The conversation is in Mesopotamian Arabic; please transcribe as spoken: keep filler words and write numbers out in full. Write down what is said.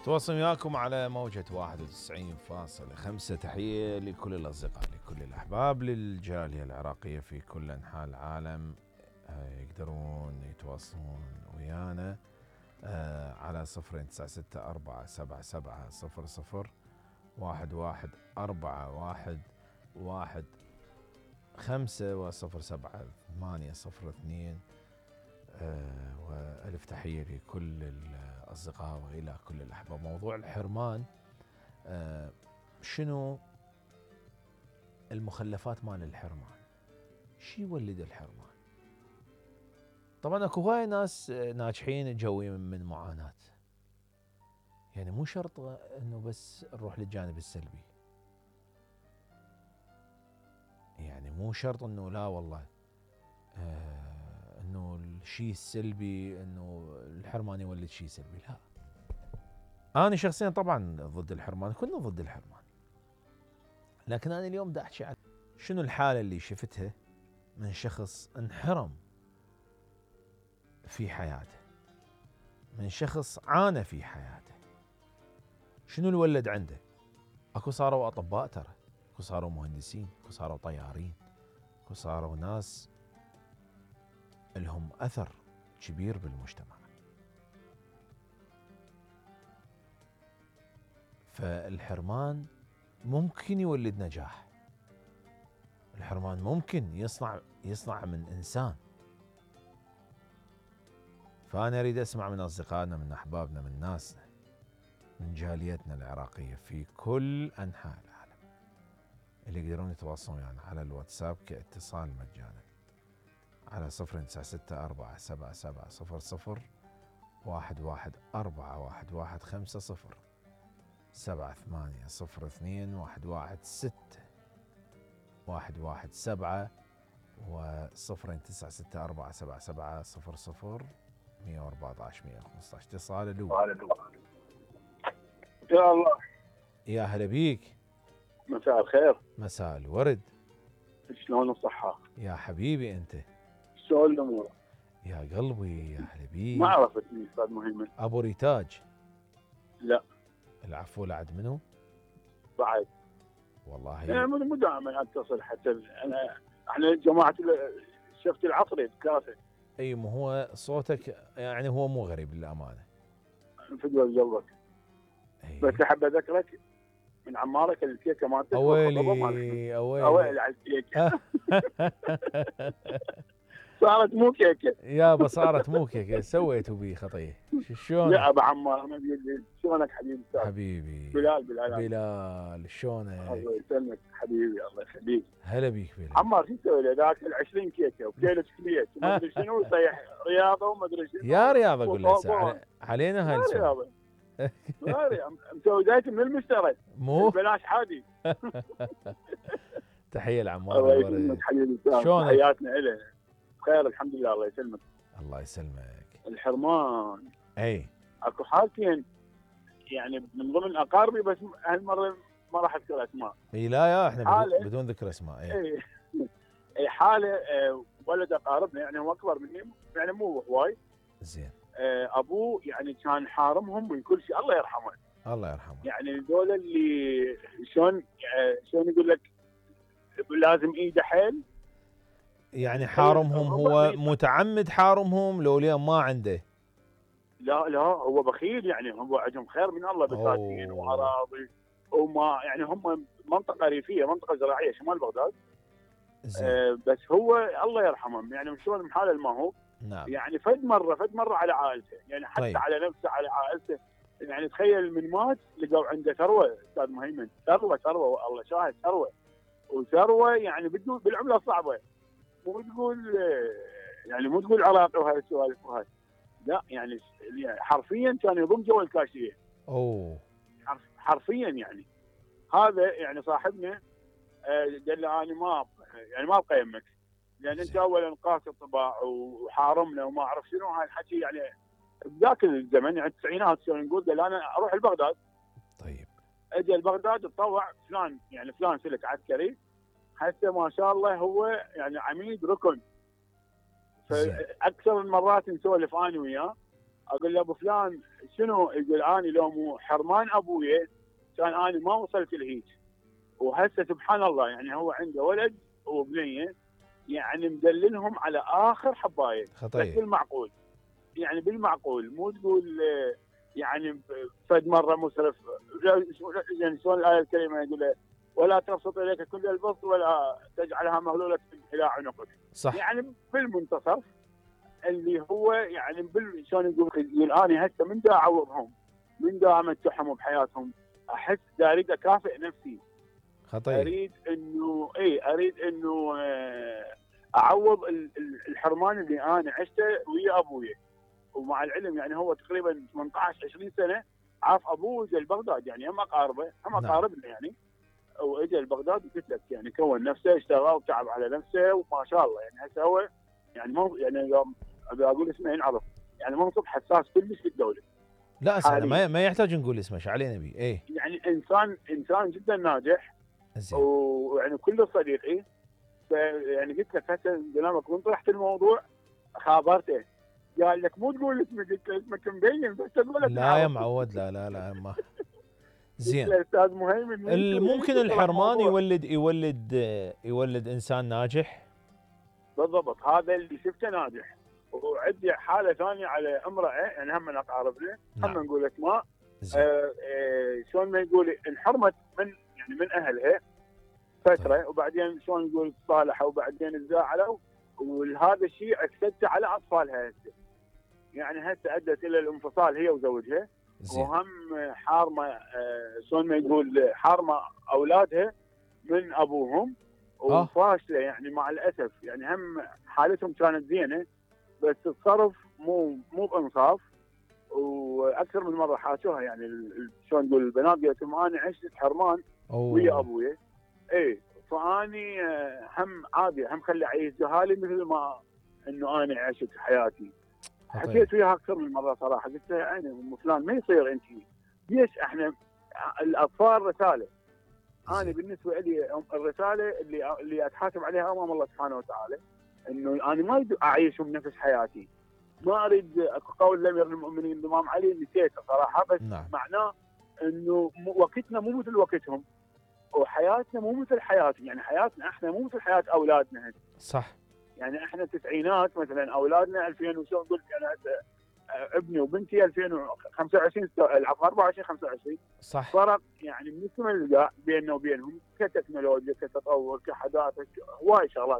تواصل وياكم على موجة واحد وتسعين فاصلة خمسة. تحية لكل الأصدقاء، لكل الأحباب، للجالية العراقية في كل أنحاء العالم. يقدرون يتواصلون ويانا على صفرين تسعة ستة أربعة سبعة سبعة صفر صفر واحد واحد أربعة واحد واحد خمسة وصفر سبعة ثمانية صفر اثنين. وألف تحية لكل الأصدقاء وإلى كل الأحباب. موضوع الحرمان، شنو المخلفات مال الحرمان؟ شي يولد الحرمان؟ طبعا اكو هواي ناس ناجحين تجوي من معاناة، يعني مو شرط انه بس نروح للجانب السلبي، يعني مو شرط انه لا والله آه انه الشيء السلبي انه الحرمان يولد شيء سلبي، لا. انا شخصيا طبعا ضد الحرمان، كنا ضد الحرمان، لكن انا اليوم دا احكي عن شنو الحالة اللي شفتها من شخص انحرم في حياته، من شخص عانى في حياته. شنو اللي ولد عنده؟ اكو صاروا اطباء، ترى اكو صاروا مهندسين، اكو صاروا طيارين، اكو صاروا ناس لهم اثر كبير بالمجتمع. فالحرمان ممكن يولد نجاح، الحرمان ممكن يصنع يصنع من انسان. فانا اريد اسمع من اصدقائنا، من احبابنا، من ناسنا، من جاليتنا العراقيه في كل انحاء العالم، اللي يقدرون يتواصلون ويانا يعني على الواتساب كاتصال مجانا على صفر تسعة ستة أربعة سبعة سبعة صفر صفر واحد واحد أربعة واحد واحد خمسة صفر سبعة ثمانية صفر اثنين واحد واحد ستة واحد واحد سبعة وصفر تسعة ستة أربعة سبعة سبعة صفر صفر مية وأربعة عشر مية وخمسة عشر. اتصال الأول. يا الله، يا هلا بيك. مساء الخير. مساء الورد. شلون الصحة؟ يا حبيبي انت. شلون الأمور؟ يا قلبي يا هلا بيك. ما عرفتني أستاذ مهيمن. أبو ريتاج. لا. العفو، لعد منو؟ بعد. والله يعني مو دائما اتصل حتى انا احنا جماعة شفت العصري الكاسة. اي مو هو صوتك يعني هو مو غريب للأمانة. فدوى قلبك. بس احب اذكرك من عمارك الكيكه مالتك. اويلي اويلي اويلي على الكيكه. صارت مو كيكه يابا، صارت مو كيكه، سويتوا بي خطيه. شلونك يا ابو عمار؟ ما بيدي. شلونك حبيبي؟ حبيبي بلال. بلال بلال شلونك؟ الله يسلمك حبيبي، الله يخليك. هلا بيك بلال. عمار شو تسوي له ذاك ال عشرين كيكه وكيلو شكليت وما ادري شنو، يصيح رياضه وما ادري شنو. يا رياضه اقول له علينا هالسوالف. لا رياضه مسوي دايت من المشتري مو بلاش حادي. تحيه لعمار. الله يسلمك حبيبي. شلونك؟ تحياتنا له. بخير الحمد لله. الله يسلمك. الله يسلمك. الحرمان اي اكو حالتين يعني من ضمن اقاربي، بس هالمره ما راح اذكر اسماء. اي لا يا احنا بدون, بدون ذكر اسماء. اي اي, أي حاله. أه ولد اقاربنا يعني هو اكبر مني يعني مو هواي. زين. أه ابوه يعني كان حارمهم من كل شيء، الله يرحمه. الله يرحمه. يعني ذول اللي شلون شلون يقول لك لازم ايده حيل. يعني حارمهم هو متعمد حارمهم لو اليوم ما عنده؟ لا لا هو بخيل، يعني هو عندهم خير من الله، بساتين واراضي وما يعني هم منطقه ريفيه، منطقه زراعيه شمال بغداد. آه بس هو الله يرحمهم يعني شلون محاله ما هو. نعم. يعني فد مره فد مره على عائلته، يعني حتى طيب. على نفسه على عائلته. يعني تخيل من مات لقوا عنده ثروه استاذ مهيمن، ثروه ثروه الله شاهد، ثروه وثروه يعني بالعمله الصعبه. مو تقول يعني مو تقول عراقي وهاي السوالف وهاي، لا يعني حرفيا كان يضم جوا الكاشيه. اوه حرفيا يعني. هذا يعني صاحبنا قال له انا ما يعني ما ابقى يمك، لان انت اولا قاسي الطباع وحارمنا وما اعرف شنو هاي الحكي. يعني بذاك الزمن يعني التسعينات شلون نقول، قال انا اروح لبغداد. طيب. اجى لبغداد تطوع فلان يعني فلان سلك عسكري، حتى ما شاء الله هو يعني عميد ركن. فاكثر من مرات نسولف انا وياه، اقول له ابو فلان شنو يقول اني لو مو حرمان ابويا كان اني ما وصلت لهيك. وهسه سبحان الله يعني هو عنده ولد وبنيه يعني مدللهم على اخر حبايه، بس بالمعقول يعني بالمعقول، مو تقول يعني فد مره مسرف. يعني شلون الايه الكريمه يقول ولا تبسط اليك كل البسط ولا تجعلها مغلوله الى عنقك. صح. يعني بالمنتصف اللي هو يعني بال شلون يقول يقول اني هسه من دا اعوضهم، من دا امتعهم بحياتهم، احس دا اريد اكافئ نفسي. خطير. اريد انه اي اريد انه اعوض الحرمان اللي انا عشته ويا ابويا. ومع العلم يعني هو تقريبا ثمانية عشر عشرين سنه عاف ابوه وجا لبغداد، يعني هم اقاربه هم اقاربنا يعني، واجى لبغداد وقلت لك يعني كون نفسه اشتغل وتعب على نفسه وما شاء الله. يعني هسه هو يعني مو يعني ابي اقول اسمه ينعرف، يعني منصب حساس كلش في الدوله. لا سهل، ما ما يحتاج نقول اسمه، ايش علينا بيه. ايه يعني انسان انسان جدا ناجح زين، ويعني كله صديقي. فيعني قلت لك هسه كلامك وين طرحت الموضوع خابرته، قال لك مو تقول اسمك، قلت له اسمك مبين بس تقول لك لا يا معود. لا لا لا ما زين. استاذ مهيمن ممكن الحرمان يولد يولد يولد انسان ناجح. بالضبط، هذا اللي شفته ناجح. وعندي حاله ثانيه على امراه يعني هم من اقاربنا، هم نقول اسماء. آه آه شلون ما يقول انحرمت من يعني من اهلها فتره. طيب. وبعدين شلون نقول تصالحوا وبعدين تزاعلوا، وهذا الشيء اكسبته على اطفالها هسه. يعني هسه ادت الى الانفصال هي وزوجها. زين. وهم حارمه آه شلون ما يقول حارمه اولادها من ابوهم وفاشله. يعني مع الاسف يعني هم حالتهم كانت زينه بس الصرف مو مو بانصاف. واكثر من مره حاشوها يعني شلون نقول البنات قالت لهم انا عشت حرمان ويا ابويا. اي فاني هم عادي هم خلي اعيش جهالي مثل ما انه انا عشت حياتي. حكيت وياها اكثر من مره صراحه، قلت لها يعني ام فلان ما يصير انت ليش احنا الاطفال رساله. انا بالنسبه لي الرساله اللي اللي اتحاسب عليها امام الله سبحانه وتعالى انه انا ما اريد اعيشهم نفس حياتي. ما اريد قول الامير المؤمنين الامام علي نسيته صراحه، بس نعم. معناه انه وقتنا مو مثل وقتهم وحياتنا مو مثل حياتهم. يعني حياتنا احنا مو مثل حياه اولادنا هسه. صح. يعني احنا التسعينات مثلا اولادنا ألفين وشلون قلت انا ابني وبنتي ألفين وخمسة وعشرين العفوا أربعة وعشرين خمسة وعشرين. صح. فرق يعني من السماء للقاع بيننا وبينهم كتكنولوجيا كتطور كحداثه هواي شغلات.